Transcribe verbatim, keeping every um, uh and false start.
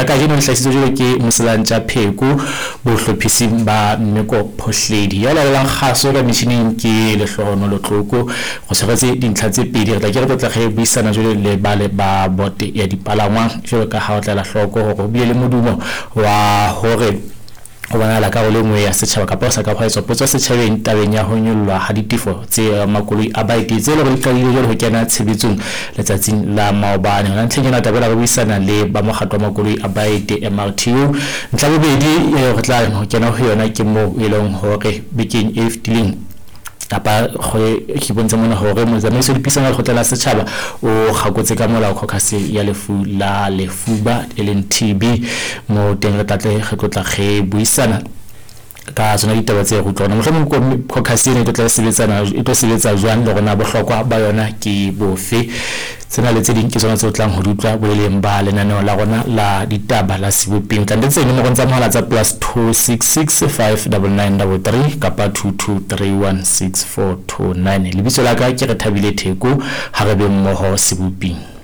kajeno le hlahisitswe jwalo ke Moselantja Pheko bohlophising ba Mmeko Phohledi. Ya lalelang kgaso ka metjhining ke Lehlohonolo Tloko. Go tshwaretse dintlha tse pedi, re tla ke re tlotla re buisana jwale le ba le ba bote ya dipalangwang jwalo ka ha o tla ela hloko hore ho bile le modumo wa hore ho bonahala karolo e nngwe ya setjhaba kapa ho sa ka hwa etswa potso setjhabeng tabeng ya ho nyollwa ha ditefo tse makoloi a baeti tse leng hore di qadile jwale ho kena tshebetsong letsatsing la maobane. Hona ntlheng ena taba re buisana le ba mokgatlo wa makoloi a baeti M R T U. Ntlha bobedi e re tla ho kena ho yona ke moo e leng hore bekeng e fetileng kapa ke bontshe mona hore motsamaisi wa dipuisano lekgotla la setjhaba o kgakotse ka molao caucus ya lefu la lefuba e leng T B, mo teng re tla tle re tlotla re buisana ka tsona ditaba tse re utlwa. Mohlomong caucus ena e tlo sebetsana e tlo sebetsa jwang le rona bohlokwa ba yona ke bofe. Tsena le tse ding ke tsona tse o tlang ho di utlwa boleleng ba lenaneo la rona la ditaba la Sebopeng. Tla ntse dinomoro tsa mohala tsa plus two six six five nine nine three three kapa two two three one six four two nine. Lebitso la ka ke Rethabile Theko, ha re be mmoho Sebopeng.